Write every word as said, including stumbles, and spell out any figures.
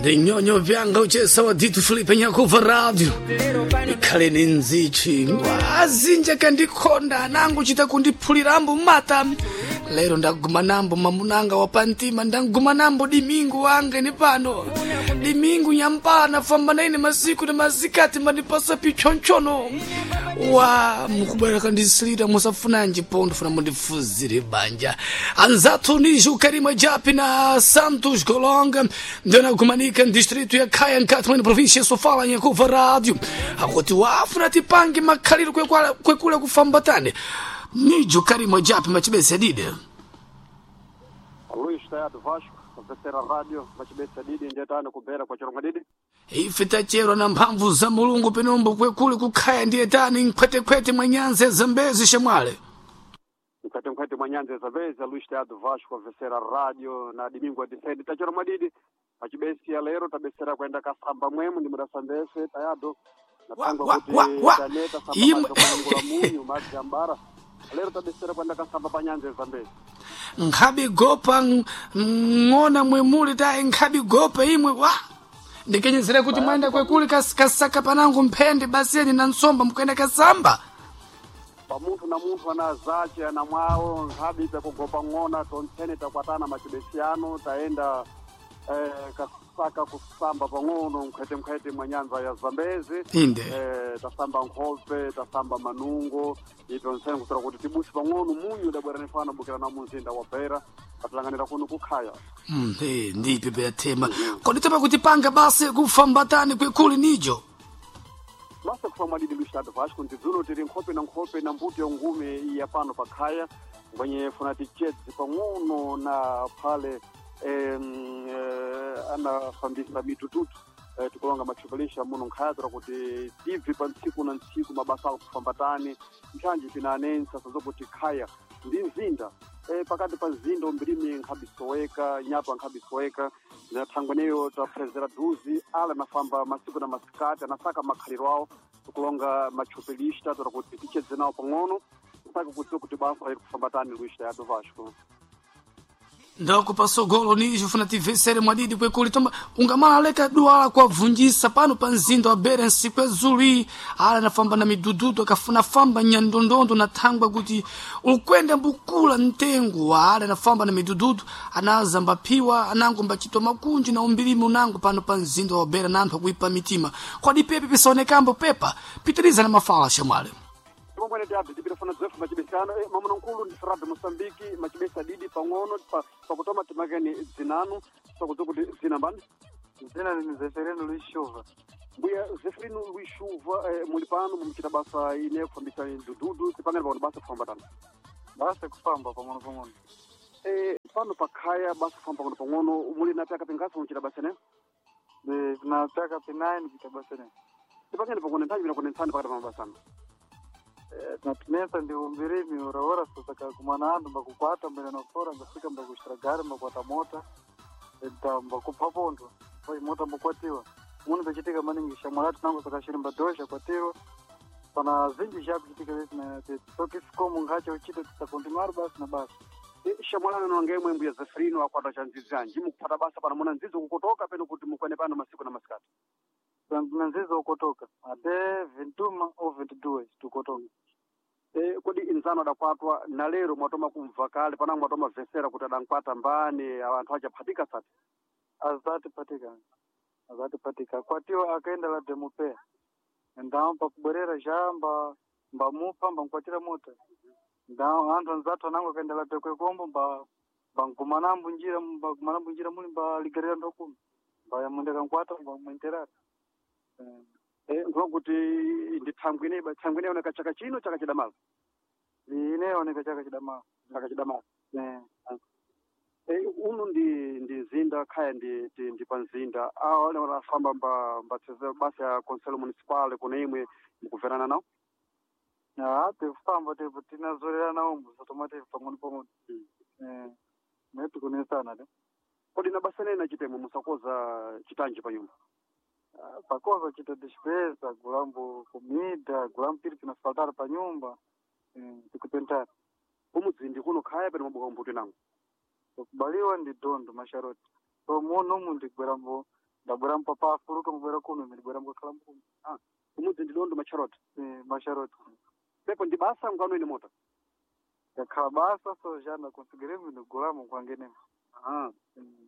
Ndinyonyo vyanga uchesa wa Ditu Filipe Nyakuva Radio ikhale ni nzichi azinja kandikhonda nangu chita kundiphulirambo mata lero ndaguma nambo mamunanga wa pantima ndaguma nambo dimingu wange ni pano dimingu nyampana famba naine masiku na masikati mandipasa pichonchono wa mukubwera kandisilira musafunanji pondo funa mundifuzire banja anzathu nijo Karima Japi na Santos Golonga ndionagumanika distrito ya Khaya nkati mwene província ya Sofala nyakuva rádio akuti wafuna tipange makhaliro kwekwala- kwekula kufambatane nijo Karima Japi machibese dide Luiz Teatro Vasco, Terceira Rádio, Machibesa Didi, ndiyetano kubera kwa Chirongwa Didi. ife tacherwa na mphamvu za mulungu penombo kwekule kukhaya ndiye tani nkhwetekhwete mwa nyanza ya zambezi shamwale Mkhwete mkhwete mwa nyanza ya Zambezi, Luiz Teatro Vasco, Terceira Rádio, na Domingo Adisedi. Tachirongwa Didi, Machibesi ya lero tabesera kwenda kasamba mwemu ndi mudasambese tayado. Natangwa Wa, kuti wa, wa. taneta samba Imwe- macho kwa mungu la munyu madzi ambara. Lero tabesera kwenda kasamba pa nyanza ya Zambezi. nkhabi gopa ng- ng'ona mwemuli tayi nkhabi gopa imwe wa ndikenyezera kuti mwayenda kwekule kas- kasaka panango mphende baseni na nsomba mukuyenda kasamba pamunthu na munthu ana zace ana mwawo nkhabi takugopa ng'ona tontsene takwatana macibesiyano tayenda eh, kasaka kusamba pang'ono mkhwetemkhwete mwa nyanza ya zambezi inde eh, tasamba nkhope tasamba manungo itontsene kusera kuti tibusi pang'ono munyu udabwera nifana bukira na munzinda wa beira atilanganira kuno kukhaya Mm, eh, ndipe peyathema kodi topa kuti panga basi kufambatani kwekule nijo basa kufa mwadidi luistado vasco ndidzulo tiri nkhope na nkhope na mbuto ya ngume ya pano pakhaya ngwenye funa tichedzi pang'ono na phale em, eh, anafambisa mitututu eh, tikulonga matchupelisha muno nkhaya tora kuti tibvi pa ntsiku na ntsiku mabasa ako kufambatani nthanji pinanensa sazokuti khaya ndi mzinda eh, pakati pa mzinda umbirimi nkhabisoweka nyapa nkhabisoweka na thangweneyo taphezera duzi ala anafamba masiku na masikati anasaka makhaliro awo tikulonga matchupelista tora kuti tichedze nawo pang'ono mpaka kudziwa kuti basa iri kufambatani luista ya Vasco ndako pasogolo nijo funa tivesere mwadidi kwekuli tomba ungamaleka duala kwavunjisa pano pa mzinda wa bera nsiku yazulu iyi ala anafamba na midududu akafuna famba nyandondondo na thangwa kuti ukwenda mbukula mtengo wa ala anafamba na midududu anaza mbaphiwa anango mbachitwa makunji na umbilimi unango pano pa mzinda wa bera na anthu akuipa mitima kwadi pepe pisaonekambo pepa pitiriza na mafala shamwale timongwene tiabvi tipitafuna dzefu macibesano eh, mamuna nkulu ndi radio moçambique macibesa didi pang'ono pa- pakutoma timakeni dzinanu pakudziwa kuti dzina mbani Dzina ni Zeferino Luiz Chuva. mbuya zeferino luis chuva eh, muli pano mumuchita basa ine kufambisa dududu tipangani pakuti basa kufambatana Basa kufamba pang'ono pang'ono. eh, pano pakhaya basa kufamba pang'ono pang'ono muli na pyaka pingasi mumuchita basa ne De na pyaka pinayi kuita basa ne. tipangani pakuti nthanji pinakunentsani pakati pa mabasano Eh, Natinesa ndi umbirimi ora ora sasa kakumana antu mbakukwata mbene nofora ngafika mbakushira gari mbakwata mota eta mbakupha pondo oi mota mbakwatiwa munu pechitika maningi shamwalatu nango sakashiri mbadosha kwatiwa pana zinji zhakuchitika vesi na tokifikomo nkhacha uchita tisakontinuar basi na basi Eh, shamwalana nongemwe mbuya zeferino akwata cha nzizi anji mukupata basa pano muna nzizi kukotoka peno kuti mukwene pano masiku na masikati na nzizi okotoka ate vintuma ou vintiduas tukotoka Eh, kodi inzano adakwatwa na lero mwatoma kumva kale pana mwatoma vesera kuti adankwata mbani anthu achaphatika sati azati patika azati patika kwatiwa akaenda la demupea ndao pakubwerera ja mba mbamupa mbankwatira mota ndao anthu anzathu anango akaenda la tekwekombo mba mbankumanambu njira mbakumanambu njira muli mbaligerera nthu akumi mbayamwenda kankwata mbamwenterata Eh, eh, nkuwa kuti ndi thangwi ine thangwi ine oneka chaka chino chaka chidamala ineoneka chaka chidamala chaka chidamala Eh, eh, uno ndi ndi mzinda khaya ndi ndi, ndi pa mzinda awa ale afamba mba mbatseze basa ya conselo municipal kuna imwe mukuverana nawo ah, tifamba tipo tinazolera nawo mbusatomati pang'ono pang'ono Mm. Eh, netikunesana de kodi na basa nene nachitemo musakoza chitanji pa nyumba pakoza chita despesa gulambo comida gulambo piri pinafaltara pa nyumba eh, tikupentara kumudzi kuno khaya peno mabuka mbuti nango kubaliwa ndi dondo masharoti so muno umu ndigwerambo Ndabwera mpapa afuluka mbwera kuno ndibwera mbakhala mkuno. Ah, kumudzi ndi Dondo Macharoti. Eh, Macharoti. Pepo ndi basa ngwano ine mota. Yakhala basa so já ndakonsigiremo ndigulamo kwangenemo. Ah. Mm.